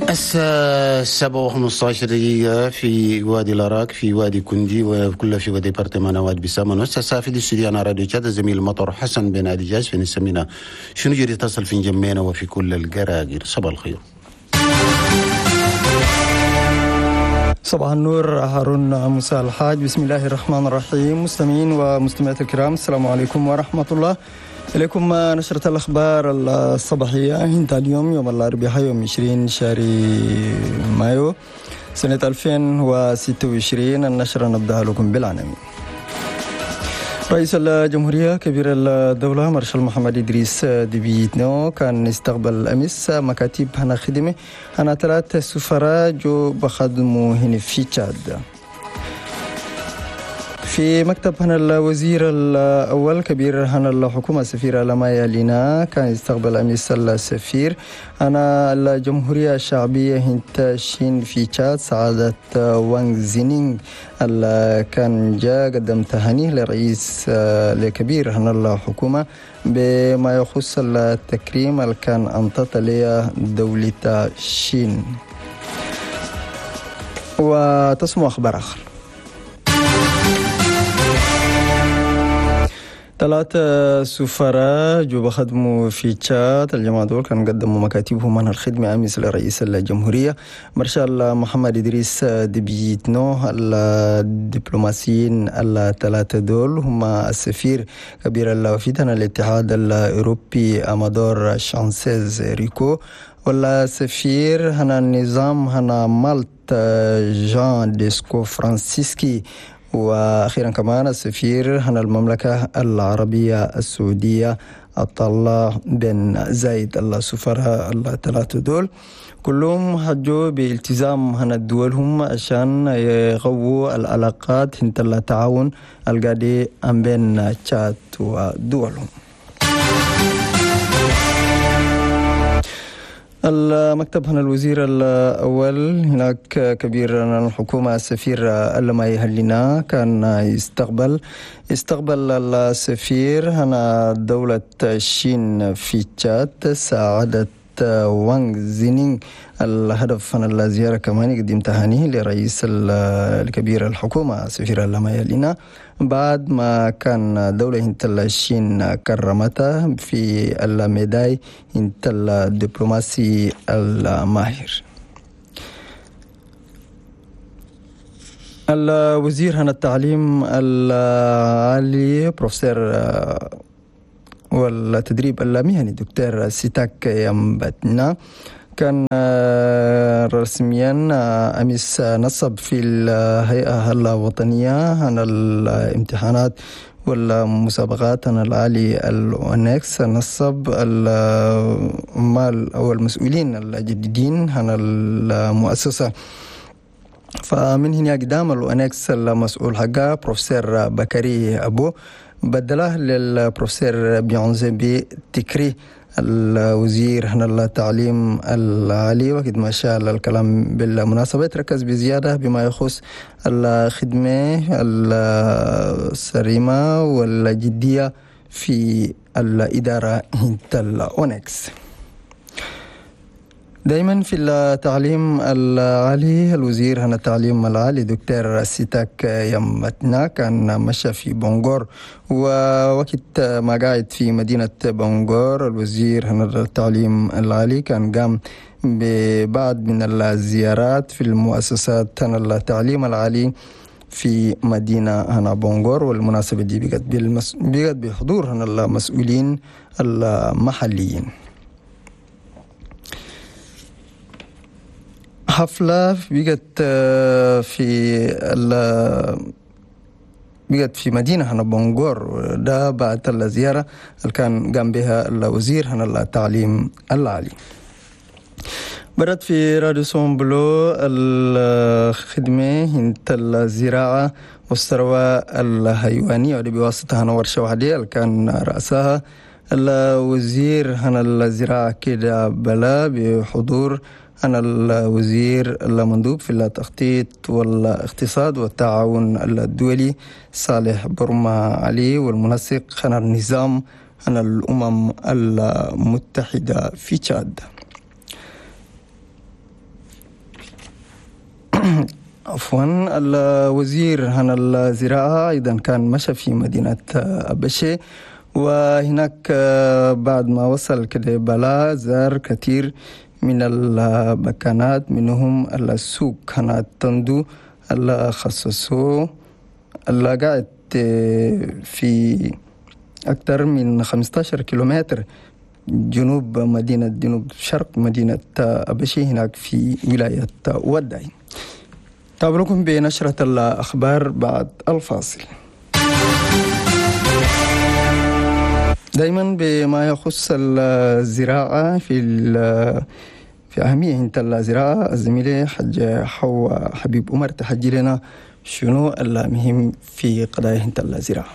الساعة 7:15 في وادي الأراك، في وادي كندي، وكل في وادي département واد بسامن. والساعة في الاستوديو أنا راديو تشاد الزميل مطر حسن بن عدي في نسمينا شنو جري تصل في جمينا وفي كل القراقير. صباح الخير. صباح النور هارون موسى الحاج. بسم الله الرحمن الرحيم. مستمعين ومستمعات الكرام، السلام عليكم ورحمة الله. إليكم نشرة الأخبار الصباحية انت اليوم يوم الأربعاء يوم 20 شهر مايو سنة 2026. النشرة نبدأها لكم بالعناوين. رئيس الجمهورية كبير الدولة مارشال محمد إدريس ديبي إتنو كان استقبل أمس مكاتب هنا خدمة هنا 3 سفراء جو بخدموا هنا في تشاد. في مكتب هنا الوزير الأول كبير هنا الحكومة السفير لمايا لينا كان يستقبل أمس السفير هنا الجمهورية الشعبية هنت شين في تشاد سعادة وانغ زينينغ اللي كان جاء قدم تهانيه لرئيس الكبير هنا الحكومة بما يخص التكريم اللي كان أنطت ليه دولة شين. وتسمع أخبار آخر. 3 سفراء جو بخدموا في تشاد. الجماعة دول كانوا قدموا مكاتبهم من الخدمة أمس لرئيس الجمهورية مارشال محمد إدريس ديبي إتنو. الدبلوماسيين الثلاثة دول هم السفير كبير الوفد الاتحاد الأوروبي أمادور شانسيز ريكو، ولا سفير هنا النظام هنا مالت جان ديسكو فرانسيسكي، وأخيرا كمان السفير هنا المملكة العربية السعودية عطالله بن زايد. السفراء الثلاثة دول كلهم حجوا بالتزام هنا الدول هم عشان يقووا العلاقات هنت التعاون القادي بين تشاد ودولهم. المكتب هنا الوزير الأول هناك كبير الحكومة السفير اللماي هلينا كان استقبل السفير هنا دولة الشين في تشاد سعادة وانغ زينينغ. الهدف هنا الزيارة كمان يقدم تهانيه لرئيس الكبير الحكومة السفير اللماي هلينا بعد ما كان دولة هنت الشين كرمتها في الميداي هنت الدبلوماسي الماهر. الوزير هنا التعليم العالي بروفيسور والتدريب المهني دكتور سيتاك يمبتنا كان رسميا أمس نصب في الهيئة الوطنية عن الامتحانات والمسابقات عن العالي الأونكس، نصب العمال أو المسؤولين الجديدين عن المؤسسة. فمن هنا قدام الأونكس المسؤول حقا بروفيسور بكري أبو بدله للبروفيسور بيونزي تكري الوزير هنا التعليم العالي. وقد ما شاء الكلام بالمناسبة تركز بزيادة بما يخص الخدمة الصريمة والجدية في الإدارة الأونكس. دائما في التعليم العالي الوزير هنا التعليم العالي دكتور سيتاك يمتنا كان مشى في بونغور، ووقت ما قاعد في مدينة بونغور الوزير هنا التعليم العالي كان قام ببعض من الزيارات في المؤسسات هنا التعليم العالي في مدينة هنا بونغور، والمناسبة دي بقت بحضور هنا المسؤولين المحليين. حفلة بقت في مدينة هنا بونغور، ده بعد الزيارة اللي كان قام بها الوزير هنا التعليم العالي. برد في راديسون بلو الخدمة هنت الزراعة والثروة الحيوانية واللي بواسطة هنا ورشة واحدة اللي كان رأسها الوزير هنا الزراعة كده بلا بحضور أنا الوزير المندوب في التخطيط والاقتصاد والتعاون الدولي صالح برما علي، والمنسق أنا النظام أنا الأمم المتحدة في تشاد. عفوا الوزير هنا الزراعة أيضا كان مشى في مدينة أبشي، وهناك بعد ما وصل كده بلا زار كثير من البكانات، منهم السوق هنا تندو اللي خصصوه اللي قاعد في أكثر من 15 كيلومتر جنوب مدينة جنوب شرق مدينة أبشي هناك في ولاية وداي. تابعوكم بنشرة الأخبار بعد الفاصل. دائما بما يخص الزراعة في أهمية الزراعة، الزميلة حج حوا حبيب عمر تحجي لنا شنو المهم في قضايا الزراعة.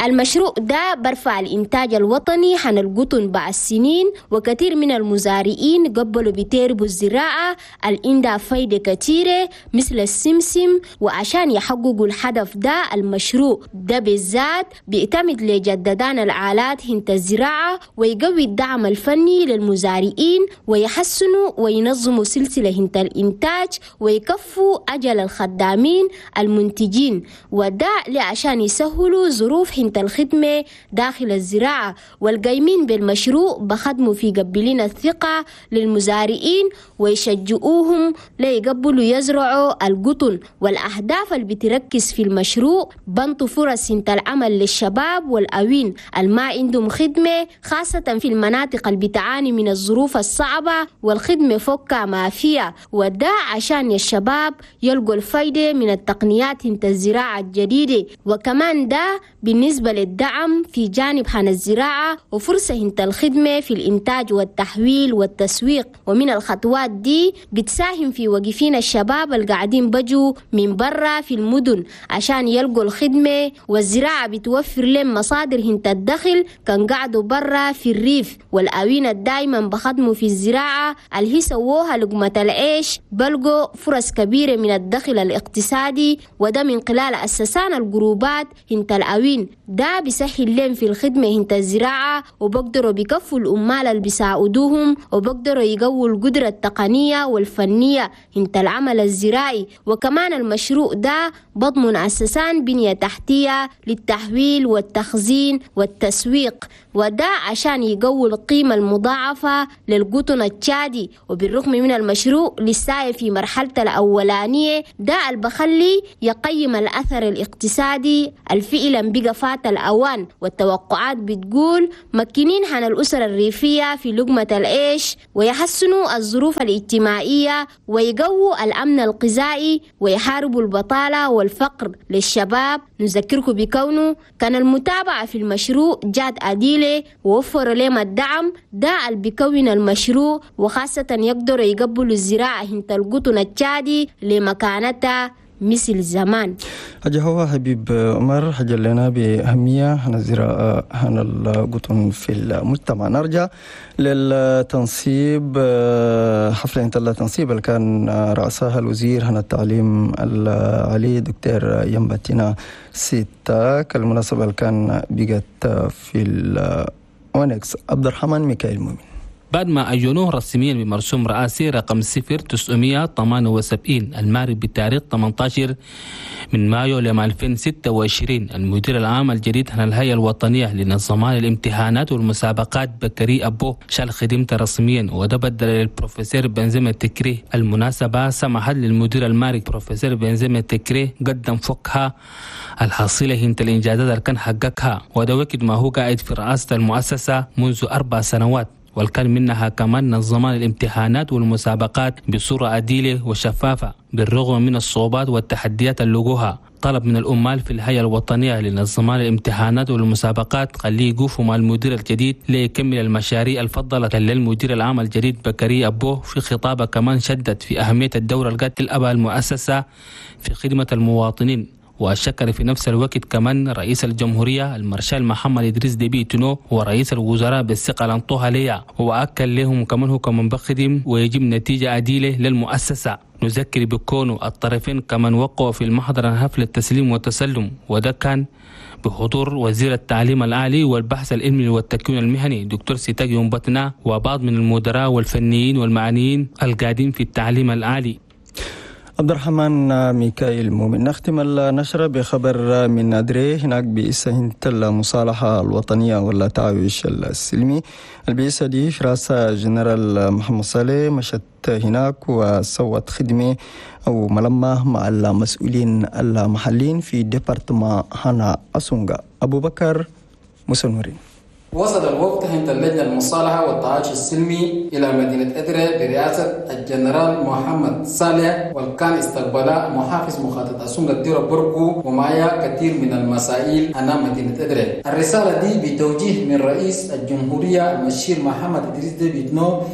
المشروع ده برفع الإنتاج الوطني عن القطن بعد السنين، وكثير من المزارعين قبلوا بتربوا الزراعة الإندا فايدة كثيرة مثل السمسم، وعشان يحققوا الهدف ده المشروع ده بالذات بيعتمد لجددان الآلات هنت الزراعة، ويقوي الدعم الفني للمزارعين، ويحسنوا وينظموا سلسلة هنت الإنتاج، ويكفوا أجل الخدامين المنتجين، وده لعشان يسهلوا ظروف هنت الخدمة داخل الزراعة. والقايمين بالمشروع بخدموا في قبلين الثقة للمزارعين ويشجعوهم ليقبلوا يزرعوا القطن. والأهداف اللي بتركز في المشروع بنطوا فرص انت العمل للشباب والأوين الما عندهم خدمة، خاصة في المناطق اللي بتعاني من الظروف الصعبة والخدمة فوق ما فيها، وده عشان الشباب يلقوا الفايدة من التقنيات انت الزراعة الجديدة. وكمان ده بالنسبة للدعم في جانب عن الزراعة وفرصة انت الخدمة في الإنتاج والتحويل والتسويق. ومن الخطوات دي بتساهم في وقفين الشباب القاعدين بجوا من برا في المدن عشان يلقوا الخدمة، والزراعة بتوفر لهم مصادر هنت الدخل كان قعدوا برا في الريف. والأوين دايما بخدموا في الزراعة اللي هي سووها لقمة العيش بلقوا فرص كبيرة من الدخل الاقتصادي، وده من خلال أسسان الجروبات هنت الأوين. ده بيسهل لهم في الخدمة هنت الزراعة، وبقدروا بيكفوا الأمال اللي بيساعدوهم، وبقدروا يقووا القدرة التقنية والفنية هنت العمل الزراعي. وكمان المشروع ده بضمن أساسان بنية تحتية للتحويل والتخزين والتسويق، وده عشان يقووا القيمة المضاعفة للقطن التشادي. وبالرغم من المشروع لسه في مرحلة الأولانية، ده اللي بخلي يقيم الأثر الاقتصادي الفعلا بقى فات الأوان. والتوقعات بتقول مكنين عن الأسر الريفية في لقمة العيش، ويحسنوا الظروف الاجتماعية، ويقووا الأمن الغذائي، ويحاربوا البطالة والفقر للشباب. نذكركم بكونه كان المتابعة في المشروع جات أديلة ووفروا لهم الدعم ده اللي بيكون المشروع، وخاصة يقدروا يقبلوا الزراعة هنت القطن التشادي لمكانتها مثل زمان. حاجة هو حبيب عمر حاجة لنا بأهمية هنا الزراعة هنا القطن في المجتمع. نرجع للتنصيب، حفلة التنصيب اللي كان رأسها الوزير هنا التعليم العالي دكتور يمبتنا ستاك، المناسبة اللي كان بقت في الأونكس. عبد الرحمن ميكائيل مؤمن. بعد ما عينوه رسميا بمرسوم رئاسي رقم 0978 الماري بتاريخ 18 من مايو لعام 2026، المدير العام الجديد عن الهيئة الوطنية لنظام الامتحانات والمسابقات بكري أبو شال خدمته رسميا، وده بدل للبروفيسور بنزيما تكري. المناسبة سمحت للمدير الماري بروفيسور بنزيما تكري قدم فوقها الحصيلة هنت الإنجازات اللي كان حققها، وده وقت ما هو قاعد في رئاسة المؤسسة منذ 4 سنوات، والكان منها كمان نظمان الامتحانات والمسابقات بصورة عديلة وشفافة بالرغم من الصعوبات والتحديات اللي لقوها. طلب من الأمال في الهيئة الوطنية لنظمان الامتحانات والمسابقات خليه يقفوا مع المدير الجديد ليكمل المشاريع الفضلة للمدير العام الجديد بكري أبوه. في خطابه كمان شدد في أهمية الدور القاتل أبا المؤسسة في خدمة المواطنين، وشكر في نفس الوقت كمان رئيس الجمهورية المارشال محمد إدريس ديبي تونو ورئيس الوزراء بالثقة لانطوها ليا، وأكل لهم كمان هو كمان بخدم ويجيب نتيجة عديلة للمؤسسة. نذكر بكونه الطرفين كمان وقعوا في المحضر حفل التسليم والتسلم، وده كان بحضور وزير التعليم العالي والبحث العلمي والتكوين المهني دكتور سيتاج يومبتنا وبعض من المدراء والفنيين والمعنيين القادمين في التعليم العالي. عبد الرحمن ميكائيل مؤمن. نختم النشرة بخبر من أدري. هناك بئسة المصالحة الوطنية ولا تعايش السلمي. البئسة دي في رأس جنرال محمد صالح مشت هناك وسوت خدمة أو ملمة مع المسؤولين المحليين في département هنا أسونغا. أبو بكر مسنورين. وصل الوفد هند اللجنة المصالحة والتعايش السلمي إلى مدينة أدري برئاسة الجنرال محمد صالح، وكان استقبل محافظ مخاطة أسونغ الديرة بركو ومعايا كثير من المسائل أنا مدينة أدري. الرسالة دي بتوجيه من رئيس الجمهورية المشير محمد إدريس ديبي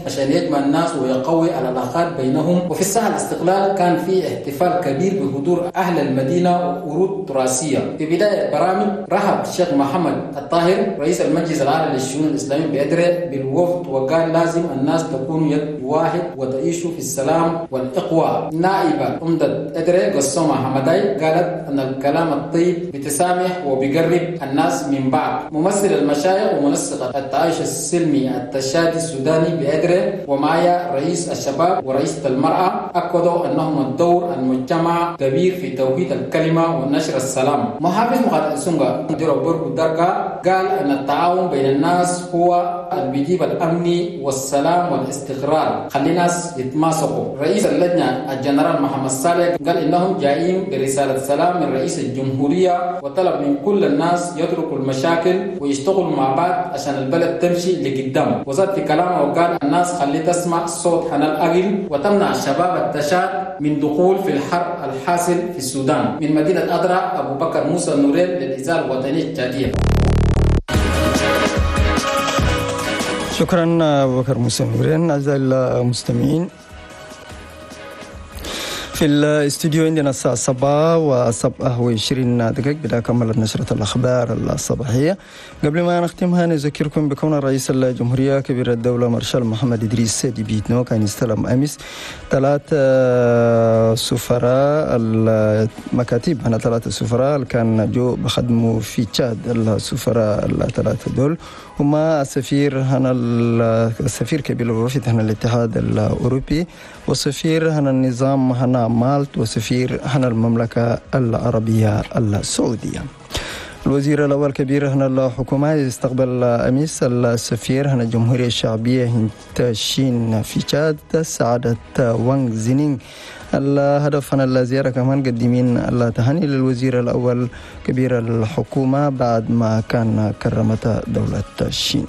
عشان يجمع الناس ويقوي العلاقات بينهم. وفي الساحة الاستقلال كان في احتفال كبير بحضور أهل المدينة وورود تراثية. في بداية برامج رحب الشيخ محمد الطاهر رئيس المجلس العالي للشؤون الإسلامية بأدري بالوفد، وقال لازم الناس تكون يد واحد وتعيشوا في السلام والإقوى. نائبة عمدة أدري قسومة حمداي قالت أن الكلام الطيب بتسامح وبيقرب الناس من بعض. ممثل المشايخ ومنسق التعايش السلمي التشادي السوداني بأدري ومعايا رئيس الشباب ورئيسة المرأة أكدوا أنهم الدور المجتمع كبير في توحيد الكلمة ونشر السلام. محافظ مقاطعة سونغا ديرو دركا قال أن التعاون بين الناس هو اللي بيجيب الأمن والسلام والاستقرار، خلي الناس يتماسكوا. رئيس اللجنة الجنرال محمد صالح قال إنهم جايين برسالة سلام من رئيس الجمهورية، وطلب من كل الناس يتركوا المشاكل ويشتغلوا مع بعض عشان البلد تمشي لقدام. وزاد في كلامه وقال الناس خلي تسمع صوت حنا الأقل وتمنع الشباب التشاد من دخول في الحرب الحاصل في السودان. من مدينة أدرى أبو بكر موسى نورين للإذاعة الوطنية التشادية. شكرا أبو بكر موسى نورين. أعزائي المستمعين، في الاستوديو عندنا الساعة 7:27 بدأ كملت نشرة الأخبار الصباحية. قبل ما نختمها نذكركم بكون رئيس الجمهورية كبير الدولة مارشال محمد إدريس ديبي إتنو كان يستلم أمس 3 سفراء المكاتب هنا، 3 سفراء كان جو بخدموا في تشاد. السفراء الثلاثة دول هما السفير هنا السفير كبير الوفد هنا الاتحاد الأوروبي، والسفير هنا النظام هنا مالت، وسفير هنا المملكة العربية السعودية. الوزير الأول كبير هنا الحكومة يستقبل أمس السفير هنا الجمهورية الشعبية هنتشين في تشاد سعادة وانغ زينينغ. الهدف هنا الزيارة كمان قدمين التهاني للوزير الأول كبير الحكومة بعد ما كان كرمت دولة الصين.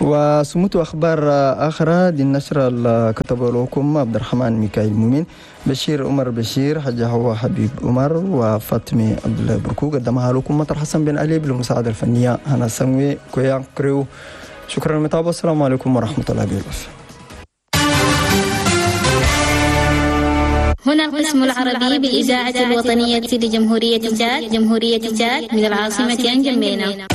وسموت أخبار أخرى دي النشرة اللي كتبه لكم عبد الرحمن ميكائيل مؤمن، بشير عمر بشير، حاجة هو حبيب عمر، وفاطمة عبد الله بركو. قدمها لكم مطر حسن بن علي بالمساعدة الفنية هنا سموي كويان كريو. شكرا للمتابعة، السلام عليكم ورحمة الله وبركاته. هنا القسم العربي بالإذاعة الوطنية لجمهورية تشاد، جمهورية تشاد من العاصمة أنجمينا.